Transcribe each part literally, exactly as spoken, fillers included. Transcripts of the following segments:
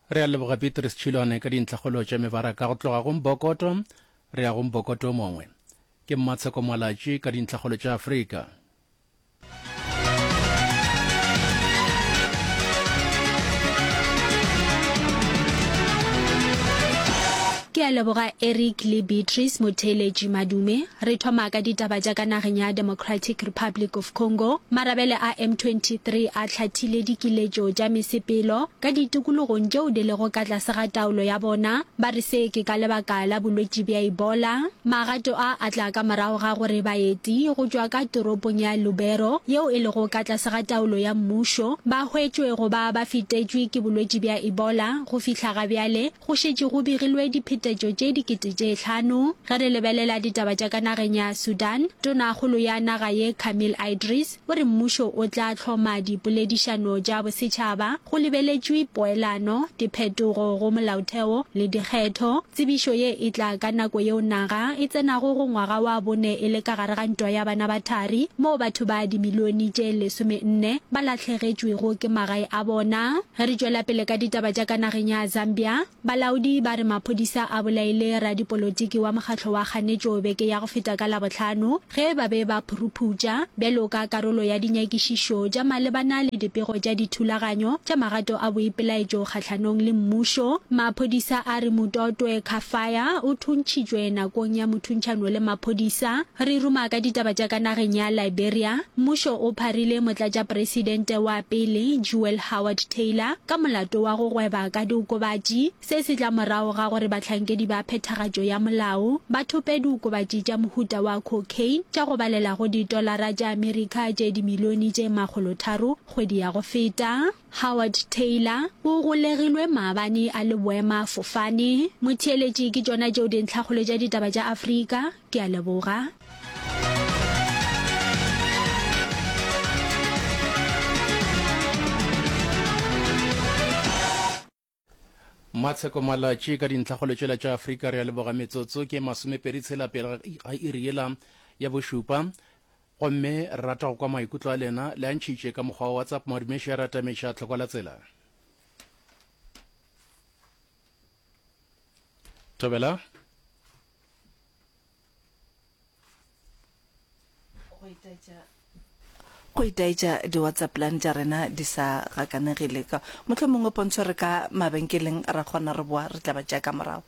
Re a leboga Beatrice Tšhilwane ka dintlhakgolo tša mebaraka. Go tloga go Mbokoto re ya go Mbokoto o mongwe. Ke Mmatsheko Malatši ka dintlhakgolo tša Afrika. Ke a leboga Eric le Beatrice Motheeletši Madume. Re thoma ka ditaba tša ka nageng ya Democratic Republic of Congo. Marabele a M twenty three a hlathile dikiletšo tša mesepelo ka ditikologong tšeo di lego ka tlase ga taolo ya bona. Ba re se ke ka lebaka la bolwetši bja Ebola. Magato a a tla ka morago ga gore baeti go tšwa ka toropong ya Lubero yeo e lego ka tlase ga taolo ya mmušo ba hwetšwe go ba ba fetetšwe ke bolwetši bja Ebola. Go fihla ga bjale go šetše go begilwe diphetetšo tše dikete tše hlano. Ge re lebelela ditaba tša ka nageng ya Sudan, Tonakgolo ya naga ye Kamil Idris o re mmušo o tla hloma dipoledišano tša bosetšhaba go lebeletšwe poelano, diphetogo go molaotheo le dikgetho. Tsebišo ye e tla ka nako yeo naga e tsenago go ngwaga wa bone e le ka gare ga ntwa ya bana ba thari moo batho ba dimilione tše lesomenne ba lahlegetšwego ke magae a bona. Ge re tšwela pele ka ditaba tša ka nageng ya Zambia, balaodi ba re maphodisa a bolaile radipolotiki wa mokgatlo wa kganetšo beke ya go feta ka Labohlano ge ba be ba phuruphutša bjalo ka karolo ya dinyakišišo tša malebana le dipego tša dithulaganyo tša magato a boipelaetšo kgahlanong le mmušo. Maphodisa a re Mutotwe Kafaya o thuntšhitšwe nakong ya mothuntšhano le maphodisa. Re ruma ka ditaba tša ka nageng ya Liberia, mmušo o pharile motlatšapresidente wa pele Jewel Howard Taylor ka molato wa go gweba ka diokobatši. Se se tla morago ga gore bahlankedi ba phethagatšo ya molao ba thope diokobatši tša mohuta wa cocaine tša go balela go ditolara tša Amerika tše dimilione tše makgolotharo kgwedi ya go feta. Howard Taylor o golegilwe maabane a le boemafofane. Motheeletši, ke tšona tšeo dintlhakgolo tša ditaba tša Afrika. Ke a leboga. Matsheko Malatši ka dintlhakgolo tšela tša Afrika. Re a leboga. Metsotso ke masomepedi tshela pele ga iri yela ya bošupa, gomme re rata go kwa maikutlo a lena. Le a ntšhitše ka mokgwa wa WhatsApp. Madumeši a ratameša tlhokwa la tsela. Thobela. Go itaetša go itaetša di-WhatsApp line tša rena di sa gakanegile ka mohlomongwe pontsho re ka mabenkeleng ra kgona re boa re tla ba tšea ka morago.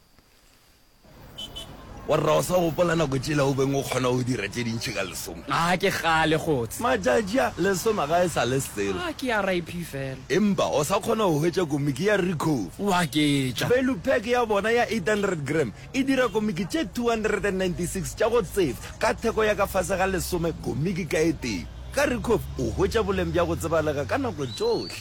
Warra o sa gopola nako tšela o beng o kgona go dira tše dintši ka lesome? A ke kgale kgotse. Matšatši a, lesome ga e sa le selo. A ke R I P fela. Empa o sa kgona go hwetša komiki ya Recove. O aketša. Value pack ya bona ya eight hundred gram e dira komiki tše two hundred and ninety six tša go tsefa ka theko ya ka fase ga lesome komiki ka e tee. Ka Recove o hwetša boleng bja go tsebalega ka nako tšohle.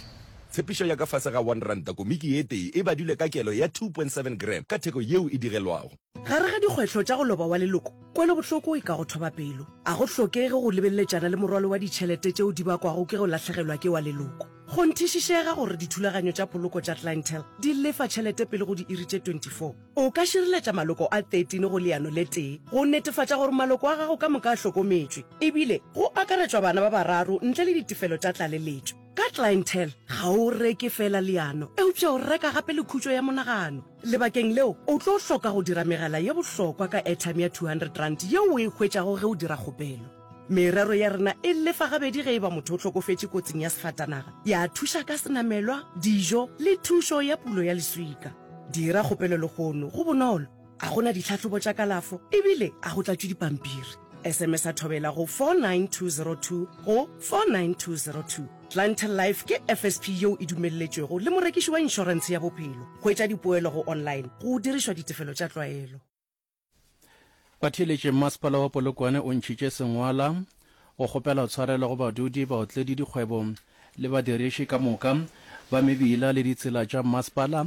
Tshepišo ya ka fase ga one ranta komiki ye tee e badilwe ka kelo ya two point seven gram ka theko yeo e digelwago. Gare ga dikgwetlho tša go loba wa leloko, kwelobohloko e ka go thoba pelo. A go hlokege go lebeleletšana le morwalo wa ditšhelete tšeo di bakwago ke go lahlegelwa ke wa leloko. Kgonthišišega gore dithulaganyo tša poloko tša Clientele di lefa tšhelete pele go diiri tše twenty four. O ka šireletša maloko a thirteen go leano le tee go netefatša gore maloko a gago ka moka a hlokometšwe, ebile go akaretšwa bana ba bararo ntle le ditefelo tša tlaleletšo. Ka Clientele, ga o reke feela leano, eupša o reka gape le khutšo ya monagano. Lebakeng leo, o tlo hloka go dira megala ye bohlokwa ka airtime ya two hundred rand yeo o e hwetšago ge o dira kgopelo. Merero ya rena e lefa gabedi ge e ba motho o hlokofetše kotsing ya sefatanaga, ya thuša ka senamelwa, dijo le thušo ya pulo ya leswika. Dira kgopelo lehono, go bonolo, a go na ditlhahlobo tša kalafo ebile a go tlatšwe dipampiri. S M S a thobela go four nine two zero two go four nine two zero two. Clientele Life ke F S P yeo e dumelletšwego le morekiši wa inšorentshe ya bophelo. Hwetša dipoelo go online go dirišwa ditefelo tša tlwaelo. Batheeletši, Mmasepala wa Polokwane o ntšhitše sengwala go kgopela tshwarelo go badudi, baotledi, dikgwebo le badiriši ka moka ba mebila le ditsela tša mmasepala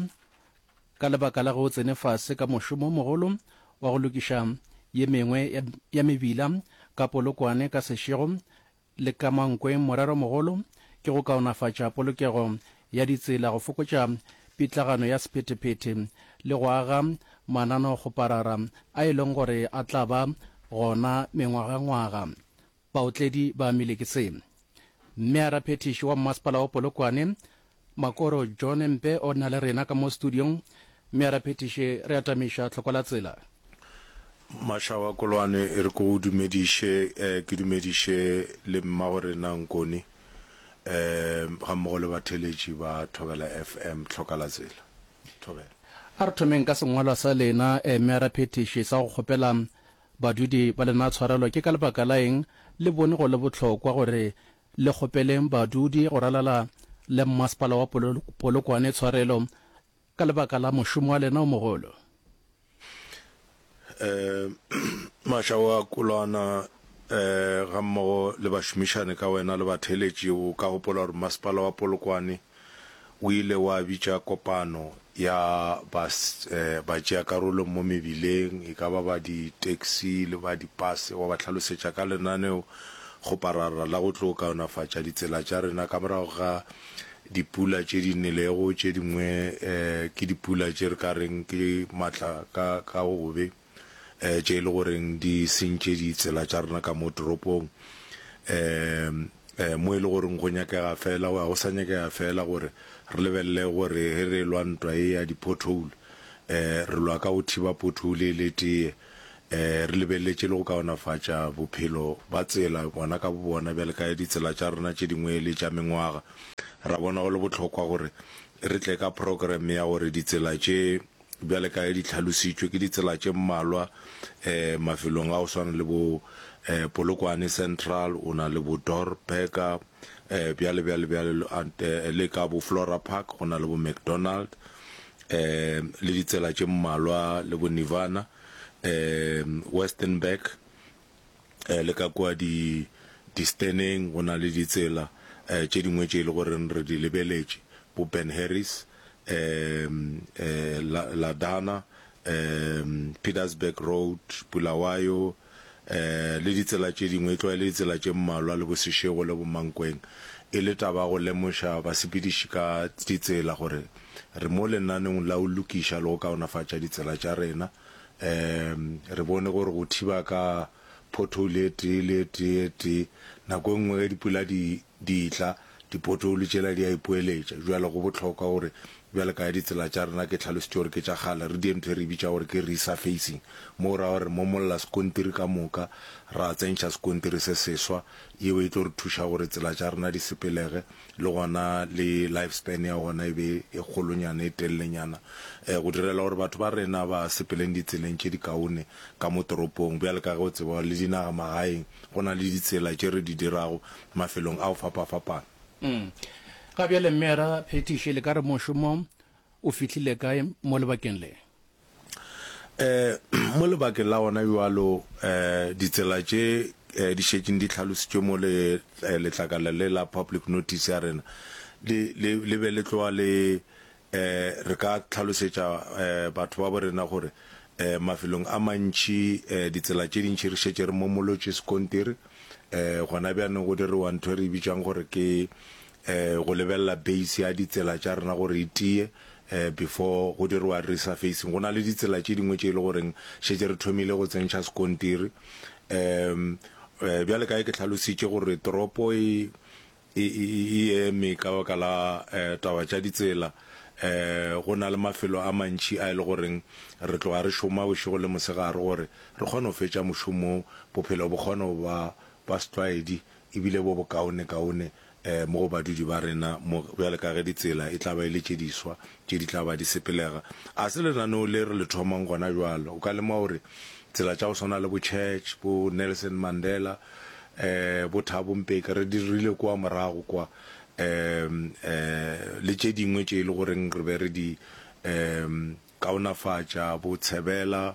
ka lebaka la ge o tsene fase ka mošomo o mogolo wa go lokiša ye mengwe ya mebila ka Polokwane ka Seshego le ka Mankweng. Moreromogolo ke go kaonafatša polokego ya ditsela, go fokotša pitlagano ya sephethephethe le go aga mananeokgoparara a e leng gore a tla ba gona mengwagangwaga. Baotledi ba amile ke se. Mmearaphethiši wa Mmasepala wa Polokwane, Makoro John Mpe o na le rena ka mo studiong. Meyara Phethiši, re atamiša tlhoko la tsela. Mašawa Kolwane, e re ke go dumediše, ke dumediše le mmagorena Nkone, gammogo le batheeletši ba Thobela F M, tlhoka la tsela. Thobela. A re thomeng ka sengwalwa sa lena, Meyara Phethiši, sa go kgopela badudi ba lena tshwarelo. Ke ka lebaka la eng le bone go le bohlokwa gore le kgopeleng badudi go ralala le mmasepala wa Polokwane tshwarelo ka lebaka la mošomo wa lena o mogolo? Um Mašawa Kolwana, um gammogo le bašomišane ka wena le batheeletši, o ka gopola gore mmasepala wa Polokwane o ile wa bitša kopano ya batšeakarolo mo mebileng, e ka ba ba di-taxi le ba dipase, wa ba hlalosetša ka lenaneo kgoparara la go tlo kaonafatša ditsela tša rena ka morago ga dipula tše di nelego, tše dingwe ke dipula tše re ka reng ke matla ka ka gobe, tše e le goreng di sentše ditsela tša rena ka mo toropong. Um mo e le goreng go nyakega fela, ga go sa nyakega fela gore re lebelele gore ge re lwa ntwa ye ya di-pothole, um re lwa ka go thiba pothole e le tee, um re lebeleletše le go kaonafatša bophelo ba tsela bona ka bobona, bjale ka ditsela tša rena tše dingwe e le tša mengwaga. Ra bona go le bohlokwa gore re tle ka program ya gore ditsela tše bjale ka ge di hlalositšwe ke ditsela tše mmalwa um mafelong a go swana le bo um Polokwane Central, o na le bo Dor Burger, um bjale bjale bjale le ka bo Flora Park go na le bo McDonald, um le ditsela tše mmalwa le bo Nirvana, um Westenburg, um le ka kua di disteneng go na le ditsela um tše dingwe tše e le goreng re di lebeletše, bo Ben Harris, um um Ladana, um Pietersburg Road, Bulawayo, um le ditsela tše dingwe, e tloga e le ditsela tše mmalwa le bo Seshego le bo Mankweng, e le taba ya go lemoša basepediši ka ditsela gore re mo lenaneong la go lokiša le go kaonafatša ditsela tša rena. Um re bone gore go thiba ka pothole e tee le e tee e tee, nako e nngwe ge dipula di di tla, dipothole tšela di a ipoeletša. Bjale go bohlokwa gore bjale ka ge ditsela tša rena ke hlalositše gore ke tša kgale, re die ntho e re e bitša gore ke resurfacing, mo go ra gore re momolla sekontiri ka moka, ra tsentšha sekontiri se seswa, yeo e tlo re thuša gore tsela tša rena di sepelege, le gona le life span ya gona e be e kgolonyana, e telelenyana, go direla gore batho ba rena ba sepeleng ditseleng tše dikaone ka mo toropong. Bjale ka ge o tseba le dinagamagaeng go na le ditsela tše re di dirago mafelong a go fapafapana. Ga bjale Mmeara Phethiši, le ka re mošomo o fihlile kae mo lebakeng le? Um mo lebakeng la gona bjalo, um ditsela tše um di šetšeng di hlalositšwe mo le letlakala le la public notice ya rena, le, le, le be le tloga le um re ka hlalosetša um batho ba bo rena gore um mafelong a mantši um ditsela tše dintši re šetše re momolotše sekontiri. Um gona bjanong go diriwa ntho e re e bitšang gore ke um go lebelela base ya ditsela tša rena gore e tie um before go diriwa resurfacing. Go na le ditsela tše dingwe tše e le goreng šetše re thomile go tsentšha sekontiri. Um bjale ka ge ke hlalositše gore toropo e e, e eme ka baka la um taba tša ditsela, um go na le mafelo a mantši a e le goreng re tloga re šoma bošego le mosegare gore re kgone go fetša mošomo, bophelo bo kgone go ba ba setlwaedi ebile bo bokaonekaone um mo go badudi ba rena mo, bjale ka ge ditsela e tla ba e le tše diswa tše di tla ba di sepelega. A se lenaneo le re le thomang gona bjalo. O ka lemoga gore tsela tša go swana le bo Church, bo Nelson Mandela, um bo Thabo Mbeki re di dirile kua morago kwa, um um le tše dingwe tše e le goreng re be re di um kaonafatša, bo Tshebela,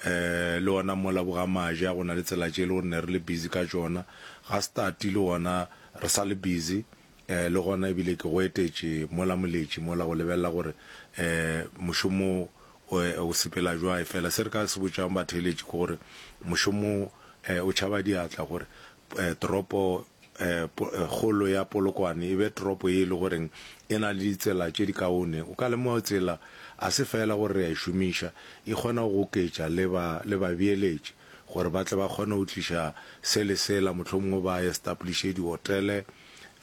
um le gona mola bo ga Maja go na le tsela tše e le gore ne re le busy ka tšona. Ga Stati le gona re sa le busy, um le gona ebile ke go etetše mola Moletši mola go lebelela gore um mošomo o sepela jwang. Efela se re ka se botšang batheeletši ke gore mošomo o tšhaba diatla gore toropo kgolo ya Polokwane e be toropo ye e le goreng e na le ditsela tše dikaone. O ka lemoga tsela a se fela gore re a e šomiša, e kgona go goketša le ba le babeeletši gore ba tle ba kgone go tliša se le sela, mohlomongwe ba establishe dihotele,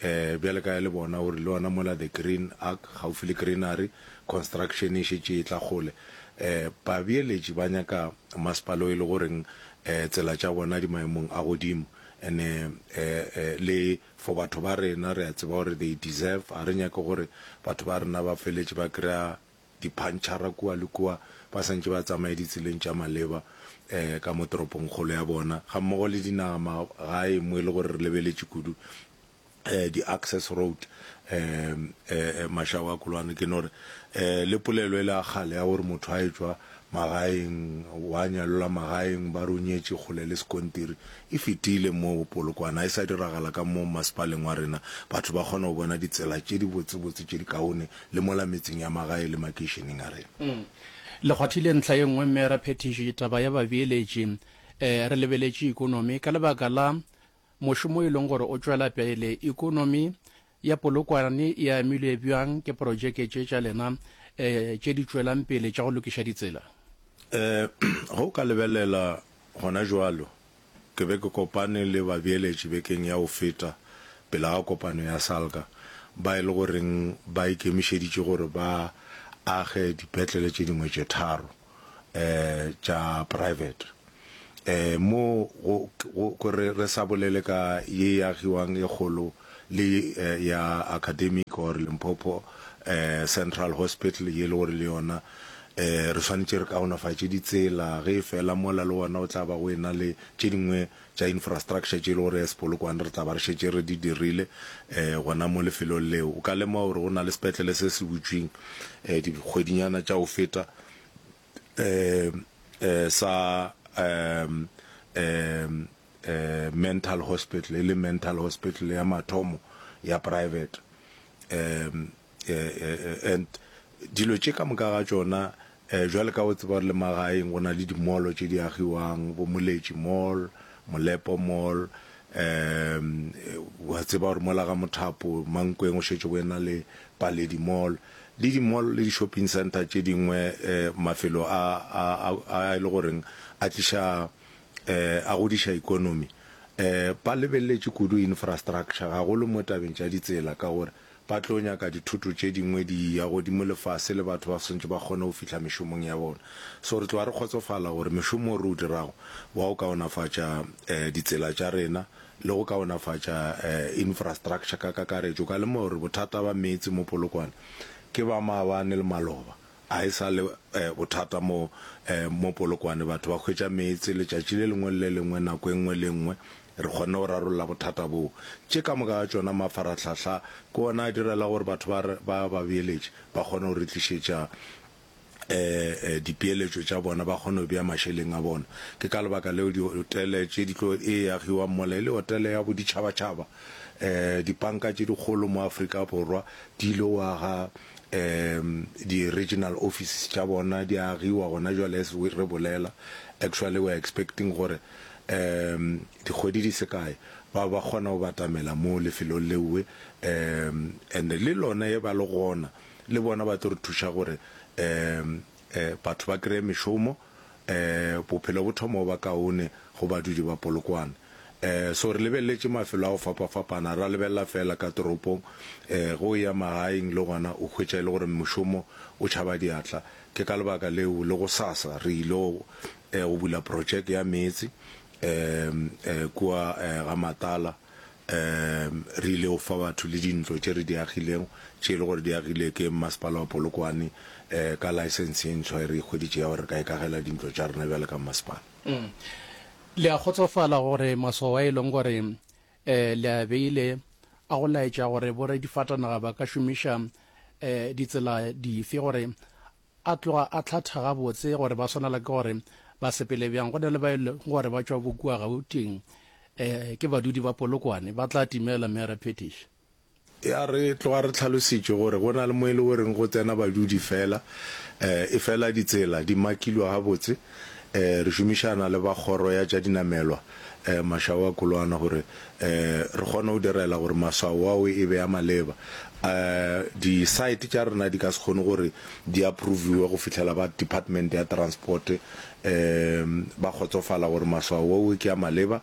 um bjale ka le bona gore le ona mola the Green Ark gaufi le Greenery construction e šetše e tla kgole. Um babeeletši ba nyaka masepala o e le goreng um tsela tša bona di maemong a godimo and-e um le for batho ba rena re a tseba gore they deserve, ga re nyake gore batho ba rena ba feletše ba kry-a diphantšhara kua le kua ba santše ba tsamaye ditseleng tša maleba um ka mo toropongkgolo ya bona gammogo le dinaga magae mo e le gore re lebeletše kudu um di-access road um mašago a kolwane. Ke no re um le polelo e le ya kgale ya gore motho a etšwa magaeng wa nyalelwa magaeng ba re o nyetše kgole le sekontiri e fetile mo Polokwane, ga e sa diragala ka mo masepaleng wa rena. Batho ba kgona go bona ditsela tše di botsebotse tše di kaone le mola metseng ya magae le makeišeneng a rena. Le kgwathile ntlha ye nngwe mme ra phethiši taba ya babeeletši. Re lebeletše ikonomi ka lebaka la mošomo e leng gore o tšwela pele. Ikonomi ya Polokwane e amilwe bjang ke projeke tše tša lena tše di tšwelang pele tša go lokiša ditsela? Ge o ka lebelela gona bjalo, ke be ke kopane le babeeletši bekeng ya go feta pele ga kopano ya SALGA ba e le goreng ba ikemišeditše gore ba age dipetlele tše dingwe tše tharo um tša private. Um mo go, go, go re, re sa bolele ka ye e agiwang e kgolo le ya Academic or Limpopo um Central Hospital ye e le gore le yona um re swanetše re kaonafatše ditsela ge e fela mola le gona o tla ba go ena le tše dingwe tša infrastructure tše e le gore as Polokwane re tla ba re šetše re di dirile um gona mo lefelong leo. O ka lemoga gore go na le sepetlele se se butšweng um dikgwedinyana tša go feta um um sa um um um mental hospital, e le mental hospital ya mathomo ya private um and dilo tše ka moka ga tšona um jwale ka o tseba gore le magaeng go na le di-mall tše di agiwang, bo Moletši Mall, Molepo Mall, um wa tseba gore mola ga Mothapo Mankweng o šetše go ena le Paledi Mall le di-mall le di-shopping center tše dingwe um mafelo a a a e le goreng a tliša um a godiša ikonomi. Um ba lebeletše kudu infrastructure gagolo mo tabeng tša ditsela ka gore ba tlo nyaka dithoto tše dingwe di ya godimo le fase le batho ba swantše ba kgone go fihla mešomong ya bona. So re tloga re kgotsofala gore mešomo o re o dirago wa go kaonafatša um ditsela tša rena le go kaonafatša um infrastructure ka kakaretšo. Ka lemoga gore bothata ba meetse mo Polokwane ke ba maabane le maloba, a e sa le bothata mo mo Polokwane. Batho ba hwetša meetse letšatši le lengwe le le lengwe, nako e nngwe le e nngwe. Re kgonne go rarolla bothata boo. Tše ka moka ga tšona mafarahlahla ke ona a direla gore batho ba ba ba beeletše ba kgone go re tlišetša um dipeeletšo tša bona, ba kgone go bea mašeleng a bona. Ke ka lebaka leo dihotele tše di tlo e agiwang mola e le hotele ya boditšhabatšhaba. Um dipanka tše dikgolo mo Afrika Borwa di ile go aga um di-regional offices tša bona, di agiwa gona jwale as re bolela. Actually we are expecting gore um dikgwedi di se kae ba ba kgona go batamela mo lefelong leowe, um and le lona e ba le gona le bona ba tlo re thuša gore um batho ba kry-e mešomo, um bophelo bo thoma go ba kaone go badudi ba Polokwane. Um so re lebeleletše mafelo a go fapafapana, ra lebelela fela ka toropong, um ge o ya magaeng le gona o hwetša e le gore mošomo o tšhaba diatla. Ke ka lebaka leo le gosasa re ile go go bula projeke ya meetse um kua ga Matala. Um re ile go fa batho le dintlo tše re di agilego tše e le gore di agile ke masepala wa Polokwane um ka license ye ntshwa e re e hweditše ya gore re ka ikagela dintlo tša rena bjale ka masepala. Le a kgotsofala gore maswao a e leng gore um le a beile a go laetša gore boradifatanaga ba ka šomiša um ditsela dife gore a tloga a hlatha gabotse gore ba swanela ke gore ba sepele bjang. Go na le ba e leng gore ba tšwa bo kua Gauteng, um ke badudi ba Polokwane, ba tla timela mme ra phetiša. Ya re tloga re hlalositše gore go na le mo e le goreng go tsena badudi fela, um efela ditsela di makilwe gabotse. Um re šomišana le ba kgoro ya tša dinamelwa, um Mashao a Kolwana gore um re kgone go direla gore maswao ao e be a maleba. um di-site tša rena di ka se kgone gore di approviwe go fihlela ba department ya transport um ba kgotsofala gore maswao ao ke a maleba.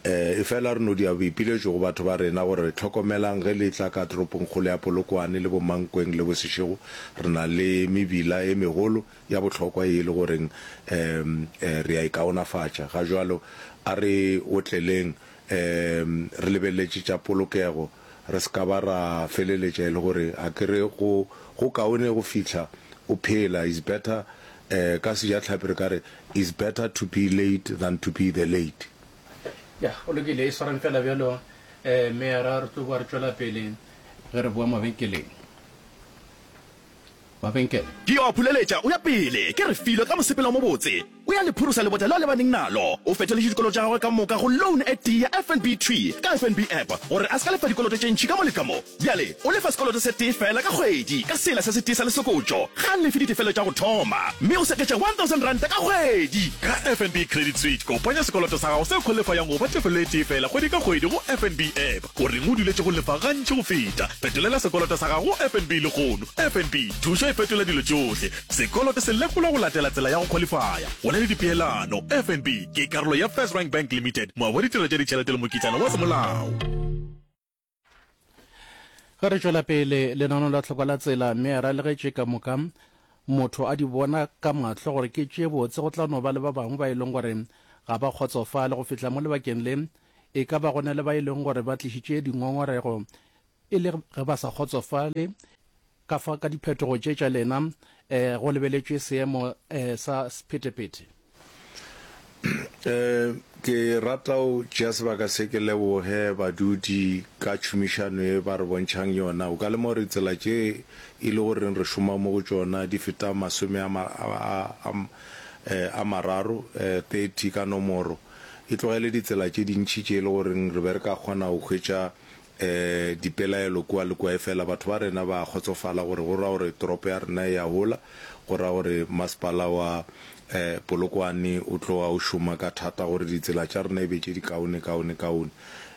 Um efela re no dia boipiletšo go batho ba rena gore hlokomelang ge le tla ka toropongkgolo ya Polokwane le bo Mankweng le bo Seshego, re na le mebila e megolo ya bohlokwa ye e le goreng um re a e kaonafatša. Ga jwalo a re otleleng um re lebeletše tša polokego, re se ka ba ra feleletša e le gore a ke re go go kaone go fihla o phela, is better um ka sejatlhapi re ka re is better to be late than to be the late. Ya, go lokile, e swareng fela bjalo, eh, meyara, re tlo boa re tšwela pele ge re boa mabenkeleng. Mabenkele. Ke yo a phuleletša o ya pele, ke Refilwe ka mosepelo o mobotse. O ya le phurosa lebota leo a lebaneng nalo. O fetoletše dikoloto tša gagwe ka moka go loan e tee ya F N B thwi ka F N B app gore a se ka lefa dikoloto tše ntši ka mo le ka mo. Bjale o lefa sekoloto se tee feela ka kgwedi ka sela se setee sa lesokotšo. Ga a lefe ditefelo tša go thoma mme o seketša one thousand ranta ka kgwedi. Ka F N B Credit Suite, kopanya sekoloto sa gago se khwalifayang go ba tefelo e tee feela kgwedi ka kgwedi go F N B app. O reng o duletše go lefa gantši go feta? Fetolela sekoloto sa gago go F N B lehono. F N B, thušo e fetola dilo tšohle. Sekoloto se lekolwa go latela tsela ya go khwalifaya. Go na le dipeelano. F N B ke karolo ya First Rank Bank Limited, moabi wa ditirelo tša ditšhelete le mokitlana wa semolao. Ge re tšwela pele lenaneo la tlhoko la tsela, meyara le ge tše ka moka motho a di bona ka mahlo gore ke tše botse, go tla no ba le ba bangwe ba e leng gore ga ba kgotsofale go fihla mo lebakeng le. E ka ba go na le ba e leng gore ba tlišitše dingongorego e le ge ba sa kgotsofale ka fa ka diphetogo tše tša lena um go lebeletšwe seemo um sa sephethephethe. Um ke rata go tšea sebaka se ke leboge badudi ka tšhomišano e ba re bontšhang yona. O ka lemoga gore tsela tše e le goreng re šoma mo go tšona di feta masome a, a, a, a mararo, thirty ka nomoro. E tlogele ditsela tše dintši tše e le goreng re be re ka kgona go hwetša um dipelaelo kua le kua, efela batho ba rena ba kgotsofala gore go ra gore toropo ya rena e a hola, go ra gore masepala wa um Polokwane o tloga o šoma ka thata gore ditsela tša rena e be tše di kaone kaone kaone.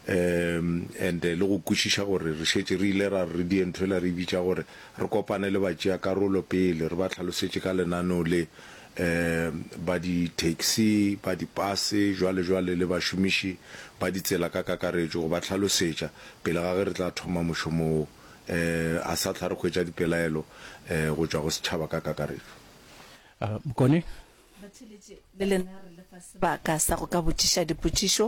Um and le go kwešiša gore re šetše re ile ra re die ntho ela re bitša gore re kopane le batšeakarolo pele re ba hlalosetše ka lenaneo le, um ba di-taxi, ba dipase, jwale jwale le bašomiši ba ditsela ka kakaretšo, go ba hlalosetša pele ga ge re tla thoma mošomo wo. Um a sa tla re hwetša dipelaelo um go tšwa go setšhaba ka kakaretšo. Mokone. Batheeletši, le lena re le fa sebaka sa go ka botšiša dipotšišo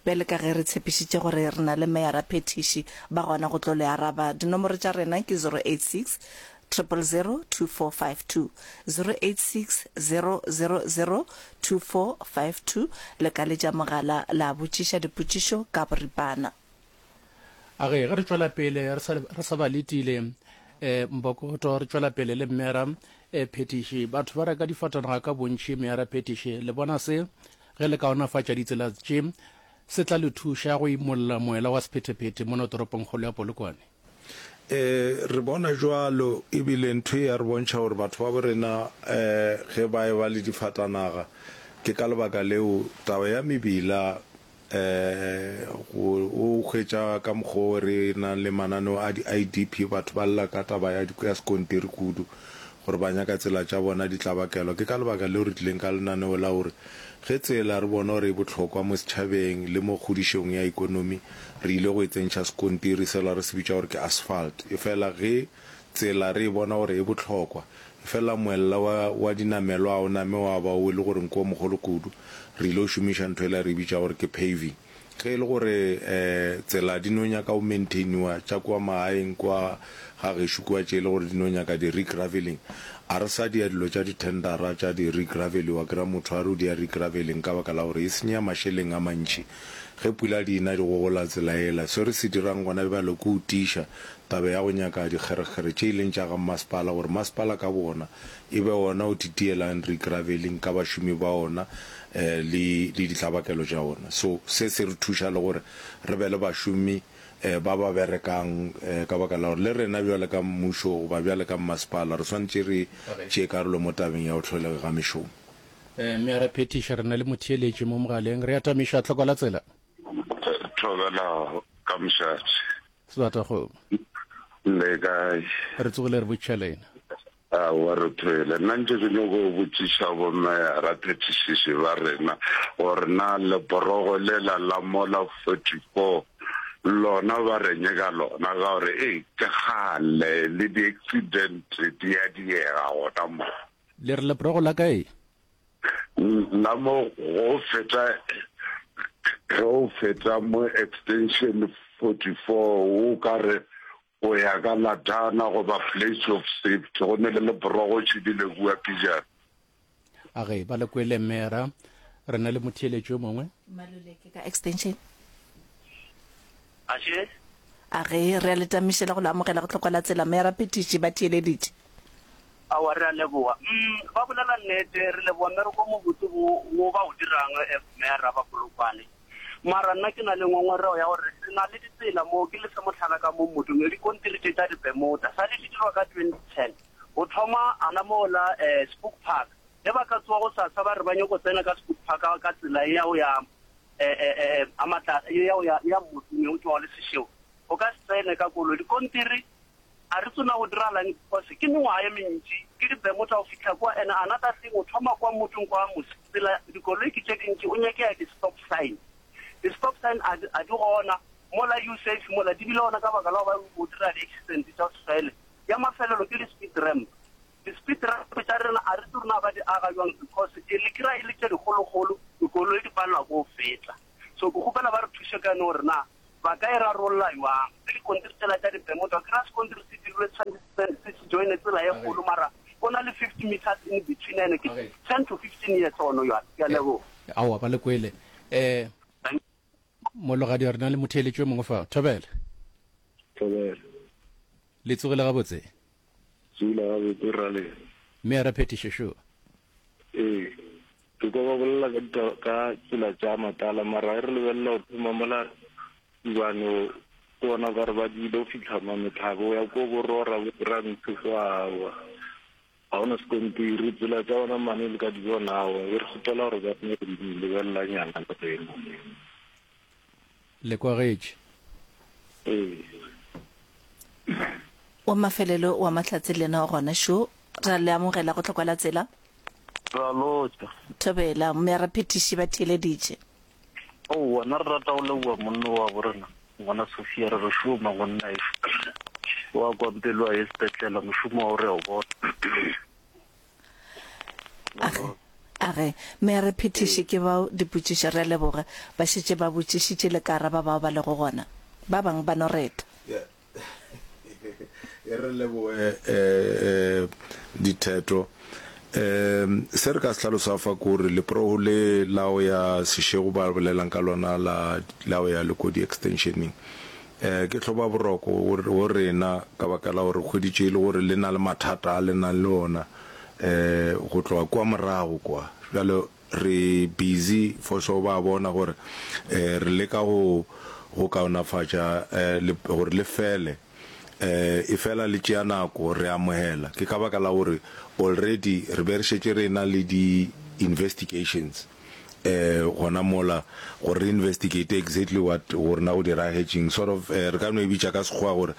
bjale ka ge re tshepišitše gore re na le meyara phethiši ba gona go tlo le araba. Dinomoro tša rena ke zero eight six triple zero two four five two, zero eight six zero zero zero two four five two. Le ka letša mogala la botšiša dipotšišo ka boripana. A ge ge re tšwela pele re sa re sa ba letile um Mbokoto, re tšwela pele le mmera um phetiši. Batho ba reka difatanaga ka bontši, meyara phetiši. Le bona se ge le kaonafatša ditsela tše se tla le thuša go imolla moela wa sephethephethe mono toropongkgolo ya Polokwane? E, re bona jwalo, ebile ntho e ya re bontšha gore batho ba bo rena um ge ba eba le difatanaga, ke ka lebaka leo taba ya mebila um go o hwetša ka mokgwa o re nang le mananeo a di-I D P, batho ba lla ka taba ya ya sekontiri kudu gore ba nyaka tsela tša bona di tlabakelwa. Ke ka lebaka leo re tlileng ka lenaneo la gore ge tsela re bona gore e bohlokwa mo setšhabeng le mo kgodišong ya ekonomi, re ile go e tsentšha sekontiri sela re se bitša gore ke asphalt. Efela ge tsela re e bona gore e bohlokwa, efela moella wa, wa dinamelwa a o name wa ba o e le gore ke o mogolo kudu, re ile go šomiša ntho ela re e bitša gore ke paving. Ge e le gore um tsela di no nyaka go maintainiwa tša kua magaeng kua ga gešo kua tše e le gore di no nyaka di-regraveling, a re sa dia dilo tša di-tendera tša di-regraveliwa. Kry-a motho a re o dia regraveling ka baka la gore e senya mašeleng a mantši ge pula di ena di gogola tsela ela. Se re se dirang gona bjalo ke go tiiša taba ya go nyaka dikgerekgere tše e leng tša ga masepala, gore masepala ka bona e be ona o titielang regraveling ka bašomi ba ona um le le ditlabakelo tša ona. So se se re thuša le gore re be le bašomi um ba ba berekang, um ka baka la gore le rena bjale ka mmušo goba bjale ka mmasepala re swanetše re tšee karolo mo tabeng ya go tlholega ga mešomo. Um meyara phetiša, re na le motheeletši mo mogaleng. Re atamiša tlhoko la tsela. Thobela ka mošate. Sebatakgomo. Le kae? Re tsogile re botšiša lena. Aowa re thwele. Nna ntše ke nyoko botšiša bomeyara phethišiši ba rena gore na leporogo lela la mola forty four lona ba reng ka lona, ka gore ei ke kgale le di accident di a diega gona mo. Le re leporogo la kae? La mo go feta ge o feta mo extension forty four o ka re o ya ka Latana goba place of safety go ne le leporogo tšhidile kua pejana. A ge ba le kwele mera re na le motheeletši yo mongwe. Maluleke ka extension. Ashe. A ge re a le tamiša le go le amogela go tlhokwa la tsela mera phetiši ba theeleditše. Aowa re a leboga. Umm ba bolela nnete re leboga mmereko o mobotse wo wo ba o dirang mera ba Polokwane. Mara nna ke na le ngongorego ya gore re na le ditsela mo, ke le fe mohlala ka mo mmotong, dikontiri tše tša di-Bermuda sa le di dirwa ka twenty ten go thoma gona mo la Spook Park. Ge ba ka tsoga gosasa ba re ba nyoko tsena ka Spook Park ka tsela ye ya go ya a ye ya go ya ya mmotong ye o tšwago le Seshego, o ka se tsene ka koloi. Dikontiri a re tsona go diragalang because ke mengwaga ye mentši ke di-Bermuda go fihla kwa, and another thing o thoma kwa mmotong kwa mose tsela dikoloi ke tše dintši o nyakega di-stop sign. Di-stop sign a di, a di gona mola U-safe mola di bile gona ka baka la go ba o dira di-accident tša go se fele. Ya mafelelo ke di-speed ramp. Di-speed ramp tša rena a re tsebe na ba di aga bjang because e le kry-a e le tše dikgolokgolo, dikoloi di palelwa ke go feta. So ke kgopela ba re thuše ka yone gore na ba ka e rarolla bjang. Le dikontiri tšela tša di-Bermuda, o kry-a sekontiri se dirilwe se se se joine tsela ye kgolo mara go na le fifty meters in between ene ke ten to fifteen years gona bjale. Ke a leboga. Aowa ba le kwele. Eh, Mologadi re na le motheeletši yo mongwe fa. Thobela. Thobela. Le tsogile gabotse? Tsogile gabotse ra le. Mme a re phetiše šo. Ee. Ke kwa ba bolela ka dita ka tsela tša matala mara e re lebelela go thoma mola Tubane ke bona ka re ba dile go fihla Mametlhabo ya ko borora bo Rantsho kwa awa. Ga gona sekontiri, tsela tša bona mane le ka di bona awa. E re kgopela gore ba no re lebelela nyana le rena. Le kwagetše. Ee. Wa mafelelo wa Mahlatse le yena o gona šo. Ra le amogela go tlhokwa la tsela. Ra lotša. Thobela, mme raphethiši ba theeleditše. Aowa, nna re rata go leboga monna wa bo rena, ngwana Sophia, re re šoma ngwanna ešo. Wa kwa mpelo a ye sepetlela, mošomo wa go re a o bona. Age, age, mme raphethiši ke bao dipotšišo, re a leboga. Ba šetše ba botšišitše le ka araba bao ba lego gona. Ba bangwe ba no reta. E re leboge ditheto. Se re ka se hlalosago fa ke gore leprogo le la go ya Seshego ba bolelang ka lona la la go ya Lekodi Extensioneng ke hlobaboroko go rena ka baka la gore re hweditše e le gore le na le mathata a le nang le ona go tloga kua morago kwa. Bjale re busy for sure ba bona gore re leka go go kaonafatša gore le fele efela le tšea nako re amogela ke ka baka la gore already re be re šetše re na le di investigations gona mola gore re investigate exactly what gore na go diragetšeng sort of re ka no e bitša ka sekgowa gore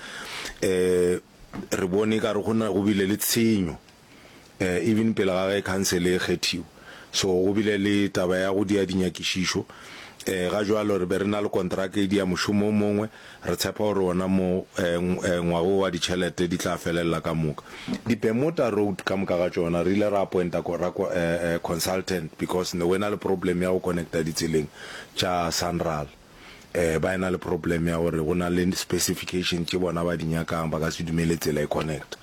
re bone e kare go na go bile le tshenyo even pele ga ge khansele e kgethiwa. So go bile le taba ya go dia dinyakišišo. Ga jwalo re be re na le kontraka e dia mošomo o mongwe, re tshepa gore wona mo ngwaga wo wa ditšhelete di tla felelela ka moka. Di-Bermuda Road ka moka ga tšona re ile ra appointa consultant because ne go ena le problem ya go connecta ditseleng tša Sanral. Ba ena le problem ya gore go na le specification tše bona ba di nyakang, ba ka se dumele tsela e connecta.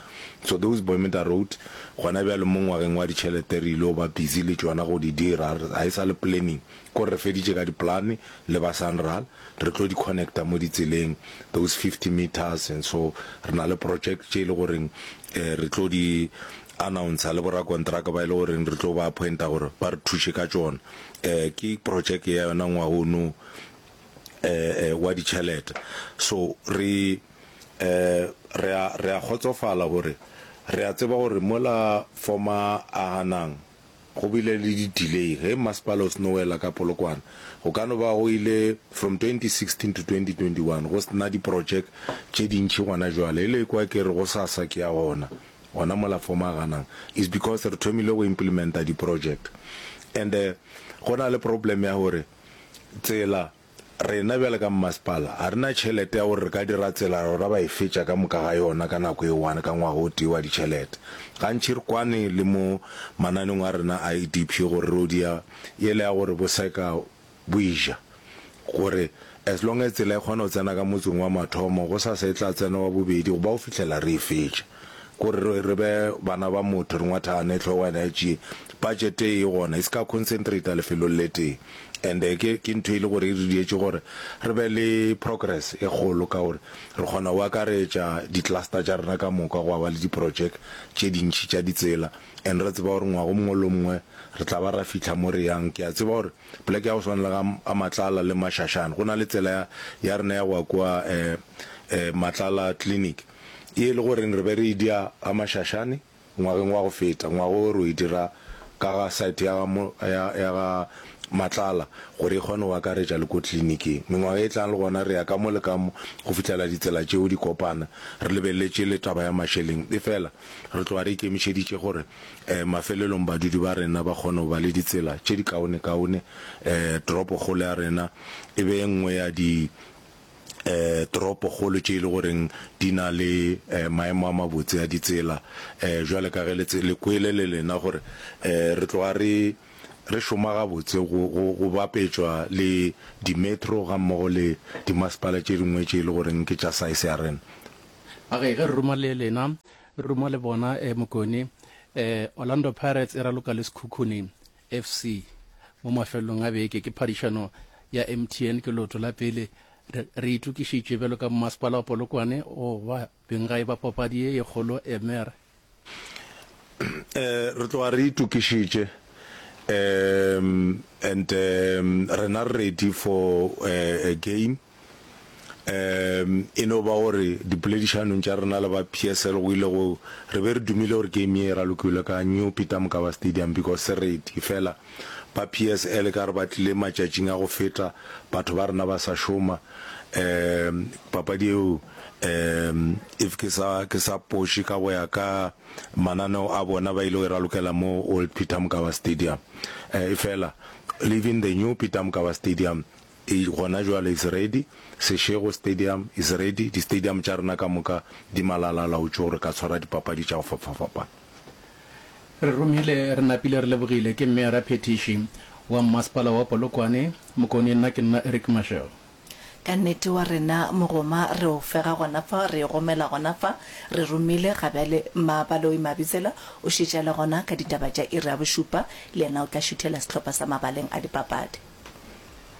So those Bermuda Road gona bjale mo ngwageng wa ditšhelete re ile go ba busy le tšona go di dira, ga e sa le planning, kore re feditše ka di-plan le ba Sanral, re tlo di connecta mo ditseleng those fifty meters and so re na le project tše e le goreng re tlo di announcer le borakontraka ba e le goreng re tlo ba appointa gore ba re thuše ka tšona. Ke project ya yona ngwaga ono wa ditšhelete. So re re a re a kgotsofala gore re a tseba gore mola former Ahanang Go bile le di delay ge masepala o seno wela ka Polokwane. Go ka no ba go ile from twenty sixteen to twenty twenty one go sena di project tše dintši gona jwale. E le kwa ke re gosasa ke ya gona, gona mola Fomaganang is because re thomile go implementa di project. And go na le problem ya gore tsela Rena bjale ka mmasepala ga re na tšhelete ya gore re ka dira tsela ra ba e fetša ka moka ga yona ka nako e one ka ngwaga o tee wa ditšhelete. Gantši re kwane le mo mananeong a rena a E D P gore re o dia yela ya gore bo seka bo e ja gore as long as tsela e kgona go tsena ka motseng wa mathomo gosasa e tla tsena wa bobedi go ba go fihlela re e fetša. Kore re re be bana ba motho re ngwathagane hlogwana ya tšie. Budget e gona e se ka concentrate lefelong le tee. And ke ke ntho e le gore e re dietše gore re be le progress e kgolo ka gore re kgona go akaretša di cluster tša rena ka moka gwa ba le di project tše dintši tša ditsela and re tseba gore ngwaga o mongwe le o mongwe re tla ba ra fihla mo re yang. Ke a tseba gore poleke ya go swana le ga ga Matlala le Mashashane go na le tsela ya ya rena ya go ya kua eh eh Matlala clinic ye e le goreng re be re e dia ga Mashashane ngwageng wa go feta, ngwaga wo re o e dira ka ga site ya ga mo, ya, ya ga Matlala gore e kgone go akaretša le ko tleliniking. Mengwaga e tlang le gona re ya ka mo le ka mo go fihlela ditsela tšeo di kopana, re lebeletše le taba ya mašeleng. Efela re tloga re ikemišeditše gore um mafelelong badudi ba rena ba kgone go ba le ditsela tše di kaonekaone, um toropokgolo ya rena e be e nngwe ya di toropokgolo tše e le goreng di na le maemo a mabotse a ditsela. Bjale ka ge le le kwele le lena gore re tloga re re šoma gabotse go go go bapetšwa le di-metro gammogo le dimasepala tše dingwe tše e le goreng ke tša size ya rena. A ge ge re ruma le lena, re ruma le bona eh, Mokone, eh, Orlando Pirates e raloka le Sekhukhune F C mo mafelelong a beke ke phadišano ya M T N ke leoto la pele. Re, re itokišitše bjalo ka mmasepala wa Polokwane go ba benggae ba papadi ye ye kgolo Emer. Eh, re tloga re itokišitše um and um rena re ready for uh, a game. Um e no ba gore dipoledišanong tša rena le ba P S L go ile go re be re dumile gore game ye e ralokilwe ka New Peter Mokaba Stadium because se ready fela ba P S L ka re ba tlile matšatšing a go feta batho ba rena ba sa šoma um papadi eo um if ke sa ke sa poše ka go ya ka mananeo a bona ba ile go e ralokela mo Old Peter Mokaba Stadium um efela leaving the New Peter Mokaba Stadium e gona jwale is ready. Seshego Stadium is ready. Di-stadium tša rena ka moka di malala-a-laotšwe gore ka tshwara dipapadi tša go fapafapana. Re romile re napile re lebogile ke Meyara Phethiši wa Mmasepala wa Polokwane, Mokone nna ke nna Eric Mashego. Ka nnete wa rena mogoma re o fega gona fa, re e gomela gona fa, re romile ga bjale Mmabaloi Mabitsela o šetše a le gona ka ditaba tša iri ya bošupa, le yena o tla šuthela sehlopha sa mabaleng a dipapadi.